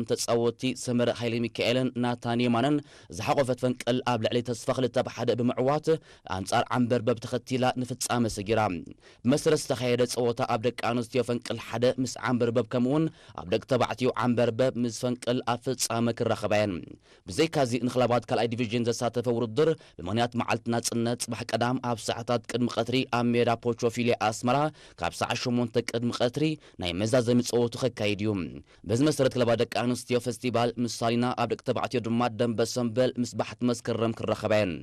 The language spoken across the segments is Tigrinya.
ንተጻወትቲ ሰመረ ሃይለ ሚካኤልን ናታን የማነን ዝሓቖፈት ፈንቅል ኣብ ልዕሊ ተስፋ ክልተ ብ ሓደ ብምዕዋት ኣንጻር ዓንበርበብ ተኸቲላ ንፍጻመ ሰጊራ። ብመሰረት ዝተኻየደ ጸወታ ኣብ ደቂ ኣንስትዮ ፈንቅል ሓደ ምስ ዓንበርበብ ከምኡውን ኣብ ደቂ ተባዕትዮ ዓንበርበብ ምስ ፈንቅል ኣብ ፍጻመ ክራኸባ እየን። ብዘይካዚ ንክለባት ካልኣይ ዲቪዥን ዘሳተፈ ውድድር ብምኽንያት መዓልቲ ናጽነት ጽባሕ ቀዳም ኣብ ሰዓታት ቅድሚ ቀትሪ ኣብ ሜዳ ፖቾፊሌ ኣስመራ ካብ ሰዓት ሸሞንተ ቅድሚ ቀትሪ ናይ መዛዘሚ ጸወቱ ከካይድ እዩ። በዚ መሰረት ክለባት ደቂ ኣንስትዮ ፈስቲቫል ምስ ሳሊና ኣብ ደቂ ተባዕትዮ ድማ ደንበ ሰምበል ምስ ባሕቲ መስከረም ክራኸባ እየን።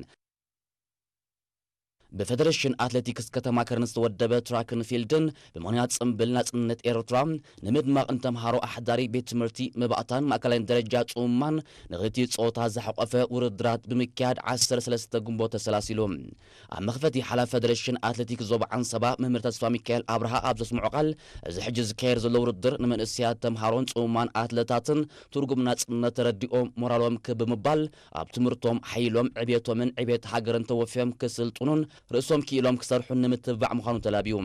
ብፌደሬሽን ኣትሌቲክስ ከተማ ከረን ዝተወደበ ትራክን ፊልድን ብምኽንያት ጽምብል ናጽነት ኤርትራ ንምድማቕ ንተምሃሮ ኣሕዳሪ ቤት ትምህርቲ መባእታን ማእከላይን ደረጃ ጽሙማን ንክልቲኡ ጾታ ዝሓቖፈ ውድድራት ብምክያድ ዓሰርተ ሰለስተ ግንቦት ተሰላሲሉ። ኣብ መኽፈቲ ሓላፊ ፌደሬሽን ኣትሌቲክስ ዞባ ዓንሰባ መምህር ተስፋ ሚካኤል ኣብርሃ ኣብ ዘስምዖ ቃል፣ እዚ ሕጂ ዝካየድ ዘሎ ውድድር ንመንእሰያት ተምሃሮን ጽሙማን ኣትለታትን ትርጉም ናጽነት ተረዲኦም ሞራሎም ክብ ብምባል ኣብ ትምህርቶም ሓይሎም ዕብየቶምን ዕብየት ሃገርን ተወፍዮም ክስልጥኑን ርእሶም ክኢሎም ክሰርሑን ንምትብባዕ ምዃኑ ተላብዩ።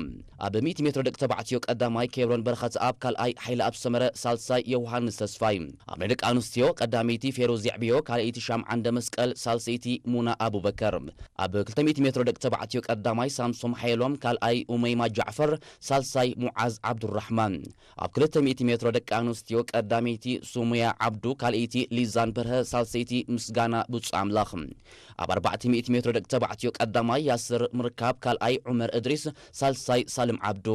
ኣብ ሚእቲ ሜትሮ ደቂ ተባዕትዮ ቀዳማይ ኬብሮን በረኸትኣብ፣ ካልኣይ ሓይለኣብ ሰመረ፣ ሳልሳይ ዮውሃንስ ተስፋይ። ኣብ ናይ ደቂ ኣንስትዮ ቀዳመይቲ ፌሩዝ የዕብዮ፣ ካልኣይቲ ሻምዓንደ መስቀል፣ ሳልሰይቲ ሙና ኣቡበከር። ኣብ ክልተ ሚእቲ ሜትሮ ደቂ ተባዕትዮ ቀዳማይ ሳምሶም ሓየሎም፣ ካልኣይ ኡመይማ ጃዕፈር፣ ሳልሳይ ሙዓዝ ዓብዱራሕማን። ኣብ ክልተ ሚእቲ ሜትሮ ደቂ ኣንስትዮ ቀዳመይቲ ሱሙያ ዓብዱ፣ ካልኣይቲ ሊዛን በርሀ፣ ሳልሰይቲ ምስጋና ብጹእ ኣምላኽ። ኣብ ኣርባዕተ ሚእቲ ሜትሮ ደቂ ተባዕትዮ ቀዳማይ ያስር ምርካብ፣ ካልኣይ ዑመር እድሪስ፣ ሳልሳይ ሳልም ዓብዱ።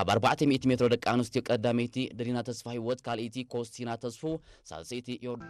ኣብ ኣርባዕተ ሚእቲ ሜትሮ ደቂ ኣንስትዮ ቀዳመይቲ ደሊና ተስፋ ህይወት፣ ካልኣይቲ ኮስቲና ተስፉ፣ ሳልሰይቲ ዮር